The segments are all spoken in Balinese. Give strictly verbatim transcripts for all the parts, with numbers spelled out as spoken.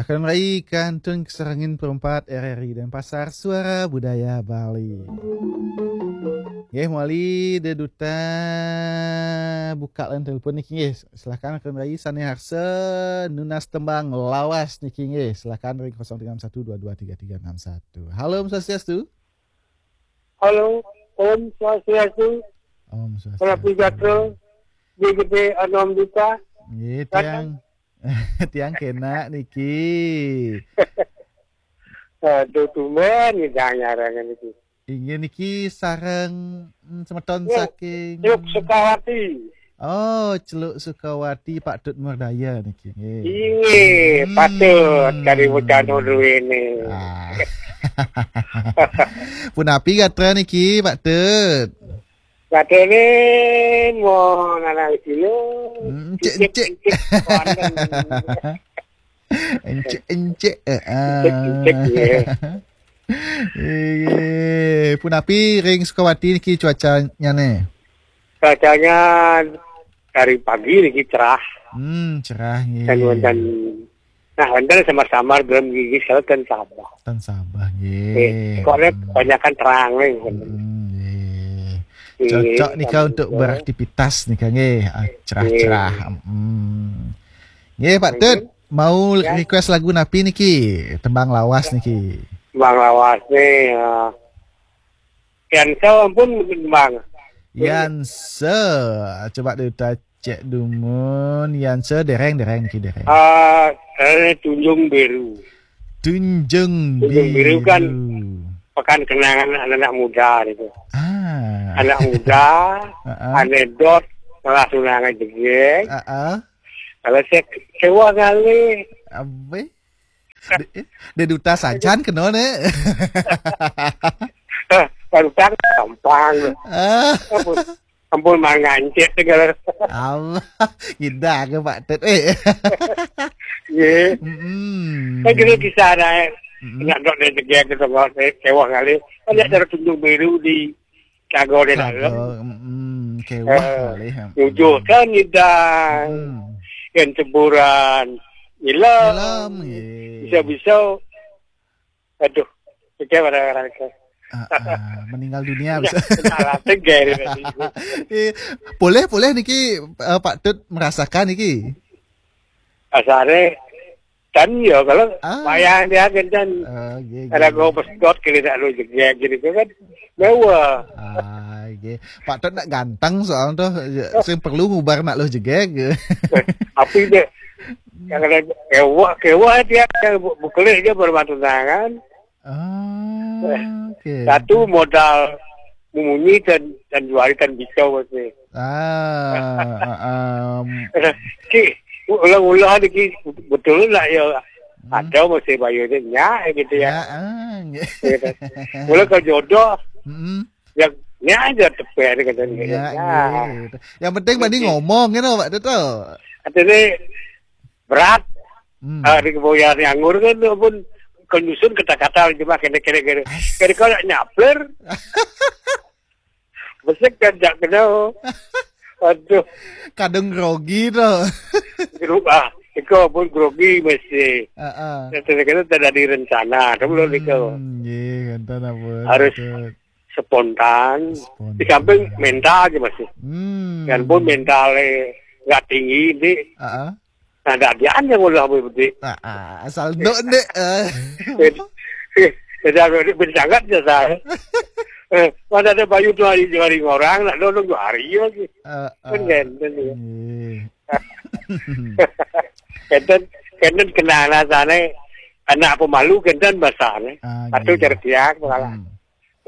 Keren rai kantun kesarengin perempat R R I Denpasar, Suara Budaya Bali. Nggih, mawali Dé Duta buka line telepon niki nggih. Silakan keren rai sané harsa nunas tembang lawas niki nggih. Silakan ring kosong tiga enam satu dua dua tiga tiga enam satu. Halo, Om Swastiastu. Halo, Om Swastiastu. Om Swastiastu. Salam sejahtera. Nggih, gedé Anom Duta. Nggih, tiang. Tiang kénak niki. Aduh, tumben ngidang nyarengin niki. Inggih niki sareng, mm, semeton saking Teluk Sukawati. Oh, Celuk Sukawati, Pak Tut Murdaya niki nggih. Inggih, Hmm. patut kari wacana duwene. Ah. Punapi gatra niki, Pak Tut? Gatene mau nanang kilo. Hmm, encik, encik. Encik, encik, wonten. Encik, encik, eh, ah. Encik, encik, nggih. Nggih. Punapi ring Sukawati niki cuacanyane? Cuacanya dari pagi niki cerah. Hmm, cerah nggih. Dan wonten, nah, wonten samar-samar belum gigi, kalau ten sabah. Ten sabah nggih. Nggih. Kok nek Hmm. kebanyakan terang nih. Hmm, nggih. Nggih, Cocok nika sama untuk juga. beraktivitas nika nggih. Ah, cerah-cerah. Nggih. Hmm. Nggih, Pak Tut, Nggih. mau Ya. request lagu napi niki? Tembang lawas niki. Tembang lawas nih, ya. Yansa ampun mungkin, Bang. Yansa, coba kita cek dumun. Yansa dereng, dereng niki dereng. Ah, eh, Tunjung Biru. Tunjung Tunjung Biru kan Biru. pekan kenangan anak-anak muda gitu. Ah. Anak muda, Heeh. anekdot, malah tunangan jegeg. Heeh. Kalau saya kecewa kali. Abe? Dé, Dé Duta sajan kena ne. Eh, baru tak gampang. Ah. Ampun, ampun mangancet segala. Allah, ngidang ke Pak Tut. Eh. Nggih. Mm-mm. Kan kira kisah ada, Mm-mm. nak dok dari jegeg gitu, kok saya kecewa kali. Kan dia Mm-mm. dari Tunjung Biru di Kagol di Kagol, dalam. Mm-mm. Kewah Eh, kali, ya. Nyujuh kan ngidang. Mm-mm. Yang ceburan. Nyelam. Nyelam, nggih. Bisa-bisa. Aduh. Pikir pada orang ke. Ah, ah, meninggal dunia Udah, bisa. Salah tegar tadi. Eh, boleh, boleh niki, eh, Pak Tut merasakan niki. Asare kan ya kalau Ah. wayang dia kan kan Ah, nggih, ada nggih. Go Pesdot kira tak lu jegeg gitu kan. Mewah. Ah, nggih. Pak Tut nak ganteng soal tuh, ya, sing perlu ngubar nak lu jegeg. Tapi deh, yang ada kewah, kewah dia yang bu-, bukelik dia baru bantu tangan. Ah, Eh, oke. Satu modal memunyi dan, dan juari dan bisa, Mas. Ah, ah, ah. Ki, ulah-ulah ni ki, betul lah ya. Hmm. Ada mesti bayar dia nyak gitu ya. Ya, ah, nggih. Ya kan? Mula kalau jodoh, Mm-mm. ya, nyak aja teper kata dia. Ya, Ya. Nggih. Yang penting bani Oke. ngomong gitu, Pak Tut. Artinya berat. Hmm. Ah, di keboyan anggur kan pun kenyusun kata-kata cuma kena-kena kena. Ais. Kena kau nak nyapler. Besek kan tak kena. Aduh. Kadang grogi tu. Gru-, ah, iko pun grogi mesti. Heeh. Kata-kata tak ada rencana, tu belum iko. Hmm, nggih, ngenten ampun, Harus Tut. Spontan. Spontan. Di samping mental aja masih. Hmm. Dan pun mentalnya nggak tinggi, ini. Heeh. Nah, tak dia aja ngolah boleh bedik. Ah, ah, asal dok dek. Ah. Jadi, jadi aku ni bersangat je, saya. Eh, mana ada bayu tu hari, hari orang, nak nolong dua hari lagi. Ah, Kan ah. Kan, kan, ya. Nggih. Kenten, kenten kenal sana, anak pemalu kenten bahasa ni. Ah, Satu nggih. Cerdiak, malah. Hmm.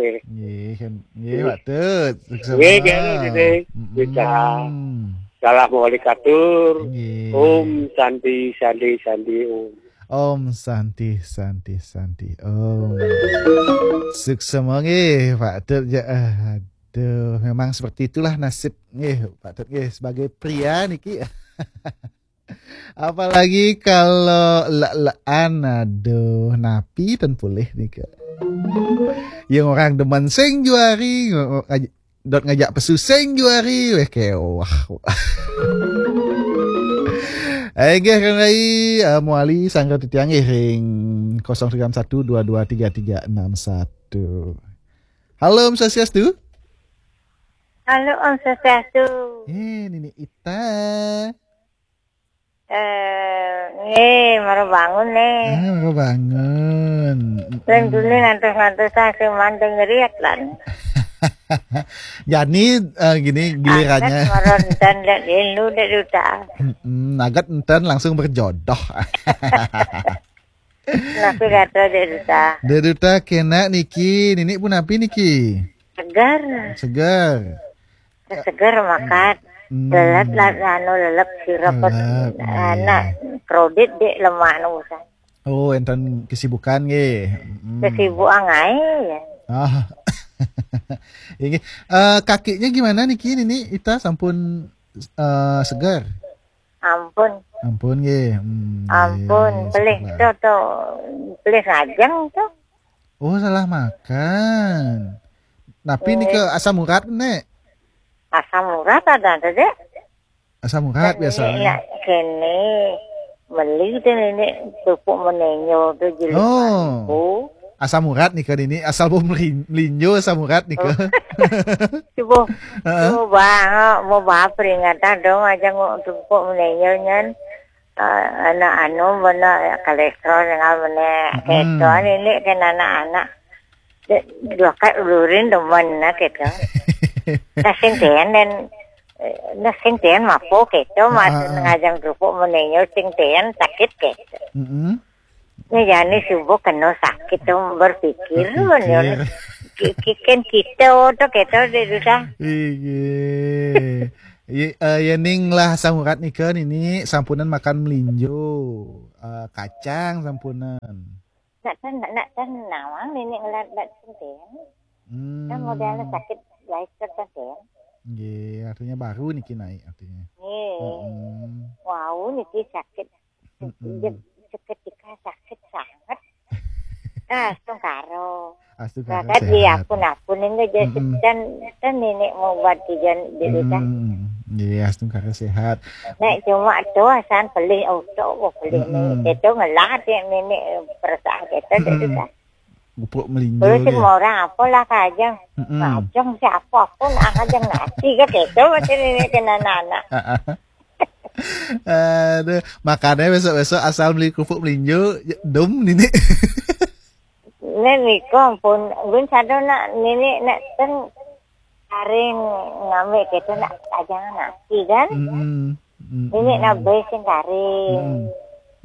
Eh. Nggih, kan. Nggih, Nggih. Pak Tut. Nggih, nggih, nggih. Mm-mm. Kita salam wali katur. Nggih. Om Santi, Santi, Santi, Om. Om Santi, Santi, Santi, Om. Suksema nggih, Pak Tut. Ya, aduh, memang seperti itulah nasib nggih, Pak Tut nggih, sebagai pria niki. Apalagi kalau lek-lekan, aduh, napi ten pulih nika. Yang orang demen sing juari, ngo-, ngo-, ngaj-, dot ngajak pesu sing juari, weh kewah. Inggih, Kang Rai, eh, mawali sangga titiang nggih ring kosong tiga enam satu dua dua tiga tiga enam satu. Halo, Om Swastiastu. Halo, Om Swastiastu. Eh, Nini Ita. Eh, nggih, mara bangun, nih. Ah, mara bangun. Lan dulu ngantos-ngantos sing mantu ngeriat, lan. Jani, eh, gini, gilirannya. Agat mara enten, Dek, lu, Dek Duta. Mm-mm, agat enten langsung berjodoh. Napi gatra, Dek Duta? Dek Duta, kenak niki, Nini punapi niki? Segar. Segar. Segar makan. Hmm. Lelet lah, anu, lelep sirep. Lelep, nggih. Anak kredit, Dek, lemah nu urusan. Oh, enten kesibukan nggih. Mm. Kesibukan ae, ya. Ah. Inggih. Eh, kakinya gimana niki, Nini Ita, sampun, eh, segar? Ampun. Ampun nggih. Hmm, ampun, nggih, pelih syukurlah. To, to, pelih ngajeng to. Oh, salah makan. Napi nika, nggih, asam urat, Nek? Asam urat ada to, Dek? Asam urat biasa. Nak kene meli to, Nini, kerupuk melinjo to jilid. Oh. Mantu. Asam urat nika, Nini, asal bau melin-, melinjo asam urat nika. Oh. Coba, heeh, coba, mau bah peringatan dong aja, nguk kerupuk melinjo nyan. Eh, anak anu, bena kolesterol dengan bena, mm-mm, keto, Nini, kan anak-anak. Dua kali ulurin demen, nah, keto. Nah, sing ten dan, eh, nah, sing ten mapo keto, ah, mati ah, ah, ngajang kerupuk melinjo, sing ten sakit keto. Mm-mm. Nah, jani subuh kena sakit to, berpikir, berpikir. Ki-, ki-, kan kita to keto, Dek Duta. Inggih. Ye, eh, yening lah asam urat nika, Nini, sampunan makan melinjo, eh, kacang sampunan. Nak ten-, nak ten nawang, Nini, ngelat bat sing ten. Hmm. Kan modelnya sakit, lain ten. Nggih, artinya baru niki naik artinya. Nggih. Mm-mm. Wau niki sakit. Mm-mm. Je-, seketika sakit sangat. Ah, astungkara. Astungkara. Ragat sehat. Diapun-apun ini je. Mm-mm. Ten, ten Nini mau obat tijan di, mm-mm, desa. Nggih, astungkara sehat. Nek cuma to asan pelih oto, oh, pelih ni. Mm-mm. Keto ngelah, Nini, perasaan keto, mm-mm, desa. Kerupuk melinjo. Terus nggih. Semua orang apalah kajeng. Mm-mm. Kajeng siapa pun, ah, kajeng nasi ke keto, macam ini kena anak-anak. Aduh, makanya besok-besok asal beli kerupuk melinjo, ya, dum, Nini. Nek niku ampun, gun sado nak, Nini, nak ten karing ngambil keto nak kajeng nasi kan. Mm-mm. Mm-mm. Nini nak beli sing karing.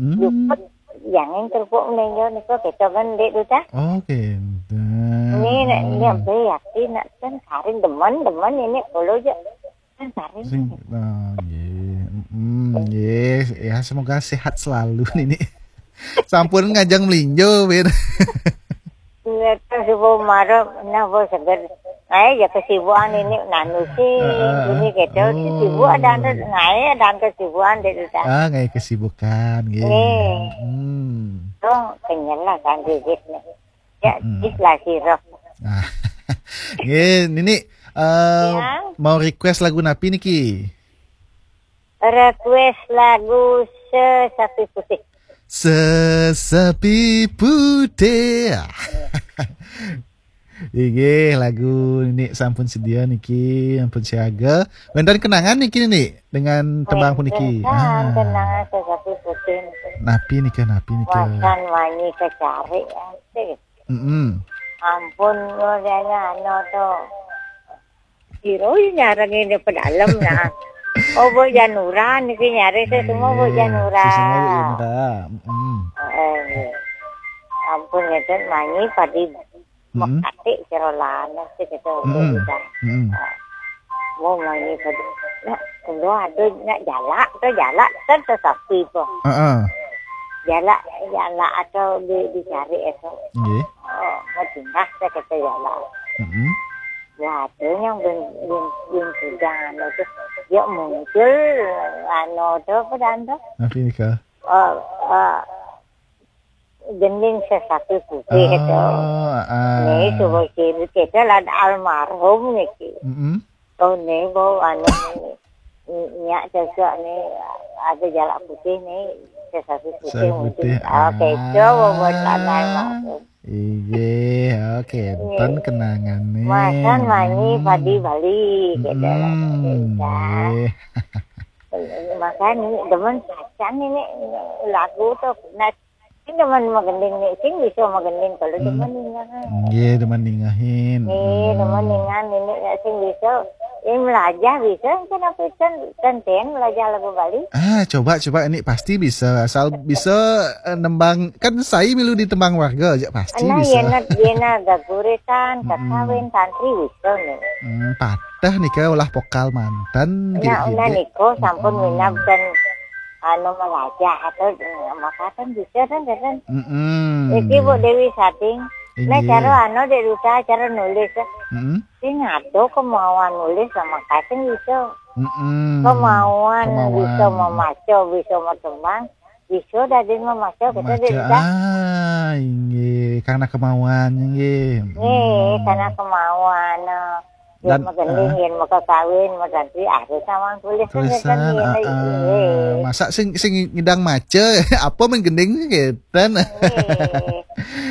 Mm-mm. Mm. Luput, yang kerupuk melinjo niku keto kan, Dek Duta. Oke, enten. Ini nak, ini beli hati nak ten karing demen, demen ini kulo je. Sing, oh, nggih. Mm-mm, nggih. Ya, semoga sehat selalu, Nini. Sampun ngajeng melinjo, Ben. Ngeto subuh marep, nah, bos seger. Nah, ya kesibukan ini, nanu sih, heeh, ini gitu. Oh. Sibuk ada, ada, nah, ada kesibukan, Dek Duta. Ah, nggih, kesibukan, nggih. Nggih. Hmm. Tuh, kenyal lah kan, Dek, nih. Ya, mm-mm, is lah sirep. Ah. Nggih, Nini, eh, ya, mau request lagu napi niki? Request lagu Sesapi Putih. Sesapi Putih. Inggih, lagu Nini sampun sedia niki, ampun siaga. Wénten kenangan niki, Nini, dengan tembang puniki? Wénten, ah, kenangan Sesapi Putih niki. Napi nika, napi nika? Wasan wanyi kecari, asik. Mm-mm. Ampun, modalnya anu to. Sira nyarengin pedalem, nah. Oh, Bu Janura niki nyari, sesama Bu Janura. Sesama Bu Janura. Mm-mm. Heeh, nggih. Ampun, ngeten, manyi padi, mm-mm, mekatik sira lanes gitu, mm-mm, gitu. Mm-mm. Mau manyi padi. Nak, kulo ada nak jalak to, jalak kan Sesapi po. Heeh. Jalak, jalak atau di, dicari itu. Nggih. Oh, mau tinggal saya kata jalak. Mm-mm. Ya, ada yang ben, ben, ben sudah anu tu. Dia muncul, anu tu, apa dah tu? Napi nika? Oh, oh, gending Sesapi Putih tu. Oh, ah. Ni, cuba kiri kita lah almarhum niki. Mm-mm. Oh, ni, bau anu ni. Nya cocok ni, ada jalak putih ni, sesapi putih. Sesapi Mungkin. putih. Ah, keco Ah. bobot lanang maksud. Iya, oke. Enten kenangan nih. Makan manyi padi Bali gitu. Hmm, Gitu. iya. Makan ini demen pacan ini lagu tu. Nah, ini demen magending ni, sing bisa magending kalau Hmm. demen ningahan. Iya, demen ningahin. Ni demen ningahan ini ya sing bisa. Ini melajah bisa kan apa kan tenten melajah lagu Bali. Ah, coba coba ini pasti bisa. Asal bisa eh, nembang, kan saya milu di tembang warga aja pasti Nah, bisa. Yena Yena gaguritan, kakawin, tantri bisa ni. Hmm, patah nih ke ulah vokal mantan. Nah, nah Gede. niko sampun minab dan anu melajah atau maka kan bisa kan kan. Mm-mm. Iki Bu Dewi Sating. Nah, Inggih. Cara anu Dek Duta, cara nulis. Mm-mm. Sing ada kemauan nulis sama kasing bisa. Mm-mm. Kemauan, Kemauan. Bisa memaca, bisa matembang, bisa dadi memaca kita Maca, Dek Duta. Ah, inggih, karena kemauan inggih. Nih, Hmm. Karena kemauan. Nah, Dan, Yen magending, yen maka kawin, maganti harus sama tulis Tulisan, ah, ah. Masa sing sing ngidang maca, apa menggending sih ketan.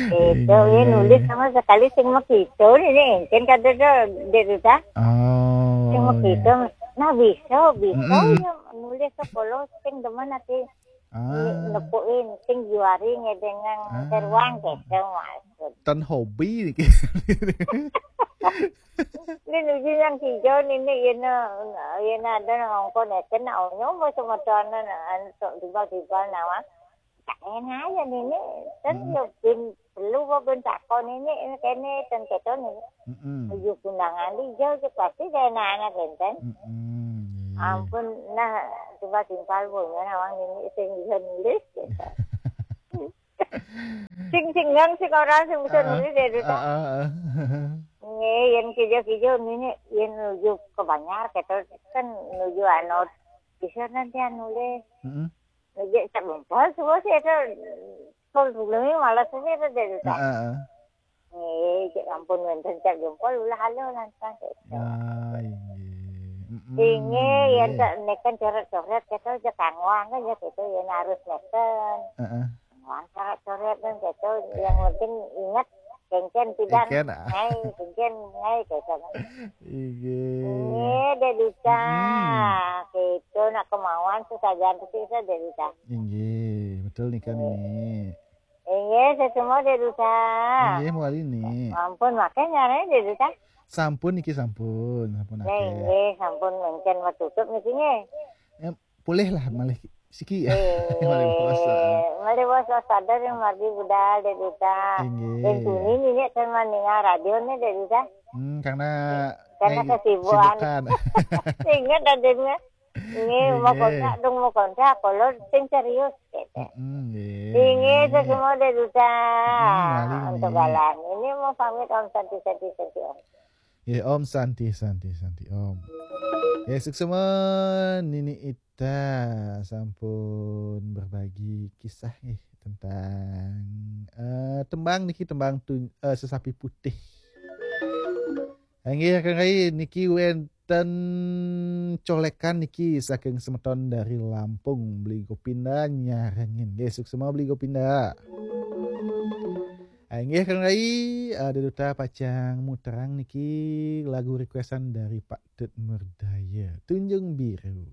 Itu ya nulis sama sekali sing makito ini engken kata tu Dek Duta. Oh. Sing makito. Nah, bisa, bisa Mm-mm. Ya nulis tu kalau sing demen nanti Ah, nepuin sing juari ngedengan Ah. Teruang gitu maksud. Tan hobi ni. Ni nuju yang hijau ni ni yena yena ada nang ongkon eken nak onyo mo semua tuan nak anu tiba-tiba nama. Tak enak ya ni ni kan Mm-mm. Yo bin perlu apa bin takon ini ini kene ten keton ini. Mm-mm. Nuju kundangan di jauh je pasti dia anak-anak enten. Mm-mm. Iya. Ampun, nah, coba timpal punya nawang ini sing bisa nulis gitu. Sing sing nang sing orang sing bisa Ah, nulis Dek Duta. Ah, ah, ah. Nge, yang kijo-kijo ini yang nuju ke Banjar gitu kan nuju anu bisa nanti anu deh. Mm-mm. Nuju tak bempal semua sih itu kalau dulu ni malas ini tu Dek Duta. Ah, ah, ah. Nge, cek ampun wenten cek jempol ulah halo lantas gitu. Ah, inggih. Mm-mm. Inge yang Iya. tak neken coret-coret gitu je kangwang kan ya gitu yang harus neken. Heeh. Kangwang coret-coret kan gitu yang penting ingat kengken tidak Kengken, ah. ngai kengken ngai gitu kan. Inggih. Inge Dek Duta gitu nak kemauan sesajan tu sih Dek Duta. Inggih, betul nih kan ini. Inge sesemua Dek Duta. Inggih, muali nih. Ampun makanya nih Dek Duta. Sampun niki sampun, sampun Ya akeh. Inge sampun mungkin mau tutup niki nge. Boleh lah malih siki ya. Eh, Malih puasa. Malih puasa sadar yang margi budal Dek Duta. Inggih. Dan tuni ni ni kan mandinga radio ni Dek Duta. Hmm, karena Karena ngai- kesibukan. Sibukan. Ingat adanya. Ini mau Inggih. Kontak dong mau kontak kalau sing serius gitu. Mm-mm, nggih. Inge sesemua Dek Duta. Hmm, wali Untuk nih. Galang. Ini mau pamit Om Santi Santi Santi Om. Ya, Om Santi, Santi, Santi, Om. Ya, suksma Nini Ita sampun berbagi kisah nih tentang eh, tembang niki tembang tu, eh, sesapi putih. Inggih kengkai niki wenten colekan niki saking semeton dari Lampung Beli Gopinda nyarengin. Nggih, suksma Beli Gopinda. Inggih kengkai ada duta pacang muterang niki lagu requestan dari Pak Tut Merdaya, Tunjung Biru.